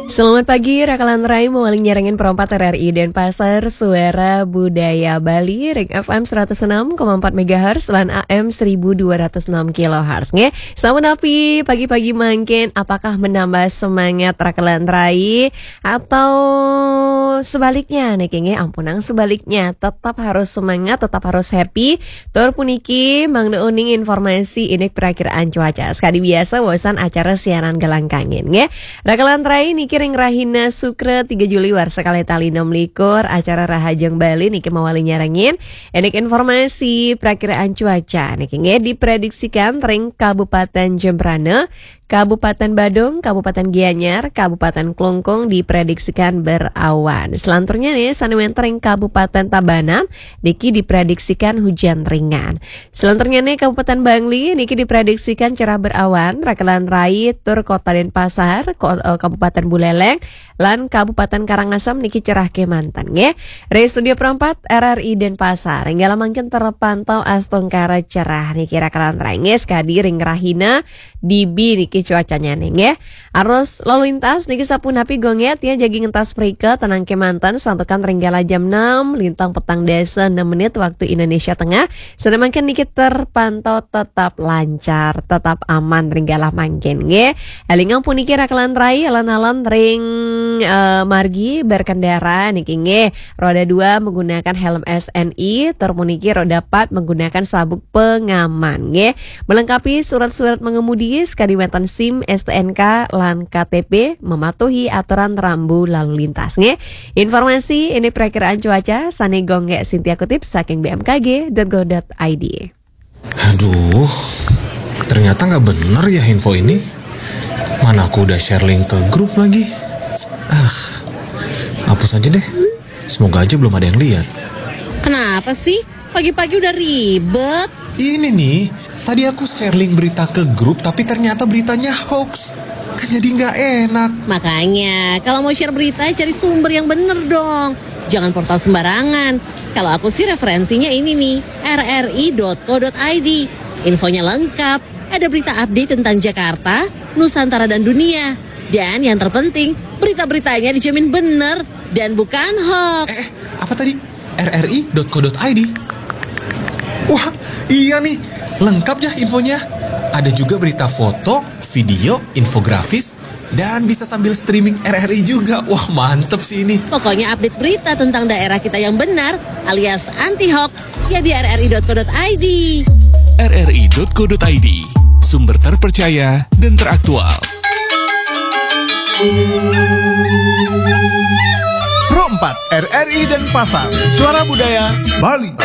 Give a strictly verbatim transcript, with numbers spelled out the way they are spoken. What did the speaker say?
Selamat pagi, Rakalan Rai, mauali nyarengin perempat R R I Denpasar, Suara Budaya Bali, Ring F M seratus enam koma empat megahertz, lan A M seribu dua ratus enam kilohertz, nggih. Sampun api pagi-pagi mangkin, apakah menambah semangat Rakalan Rai? Atau sebaliknya, niki nggih, ampunang sebaliknya, tetap harus semangat, tetap harus happy. Tur puniki, mangda uning informasi indik perakiraan cuaca. Sekadi biasa, wawasan acara siaran Galang Kangin, nggih. Rakalan Rai niki ring rahina Sukra tiga Juli warsa kalih tali enam likur, acara Rahajeng Bali niki mauali nyarengin indik informasi perakiraan cuaca niki nggih diprediksikan ring Kabupaten Jembrana, Kabupaten Badung, Kabupaten Gianyar, Kabupaten Klungkung diprediksikan berawan. Selanturnya nih, sane wenten ring Kabupaten Tabanan niki diprediksikan hujan ringan. Selanturnya nih, Kabupaten Bangli niki diprediksikan cerah berawan, Rakalan Rai tur Kota Denpasar, ko- eh, Kabupaten Buleleng, lan Kabupaten Karangasem niki cerah kemanten, nggih. Ring Studio Perempat R R I Denpasar, nggih, mangkin terpantau astungkara cerah niki, Rakalan Rai, nggih, sekadi ring rahina dibi niki cuacanya nih, nggih. Arus lalu lintas niki sapunapi, Gong, ya, tiang jagi ngentas mrika tenang kemanten, santukan ring galah jam enam lintang petang dasa enam menit waktu Indonesia Tengah. Sane mangkin niki terpantau tetap lancar, tetap aman ring galah mangkin, nggih. Elingang puniki, Rakalan Rai, alon-alon ring, eh, margi berkendara niki, nggih. Roda dua menggunakan helm S N I, tur puniki roda empat menggunakan sabuk pengaman, nggih. Melengkapi surat-surat mengemudi, sekadi wenten SIM, STNK, lan K T P, mematuhi aturan rambu lalu lintas, nggih. Informasi indik perakiraan cuaca sane Gong Sintia kutip saking B M K G dot go dot I D. Aduh, ternyata nggak bener ya info ini. Mana aku udah share link ke grup lagi. Ah, hapus aja deh. Semoga aja belum ada yang lihat. Kenapa sih? Pagi-pagi udah ribet. Ini nih, tadi aku share link berita ke grup, tapi ternyata beritanya hoax. Kan jadi nggak enak. Makanya, kalau mau share berita, cari sumber yang bener dong. Jangan portal sembarangan. Kalau aku sih, referensinya ini nih, R R I dot co dot I D. Infonya lengkap, ada berita update tentang Jakarta, Nusantara, dan dunia. Dan yang terpenting, berita-beritanya dijamin bener dan bukan hoax. Eh, eh, apa tadi? R R I dot co dot I D. Wah, iya nih, lengkap ya infonya. Ada juga berita foto, video, infografis, dan bisa sambil streaming R R I juga. Wah, mantep sih ini. Pokoknya, update berita tentang daerah kita yang benar alias anti hoax ya di R R I dot co dot I D. R R I dot co dot I D, sumber terpercaya dan teraktual. Pro empat, R R I Denpasar, Suara Budaya Bali.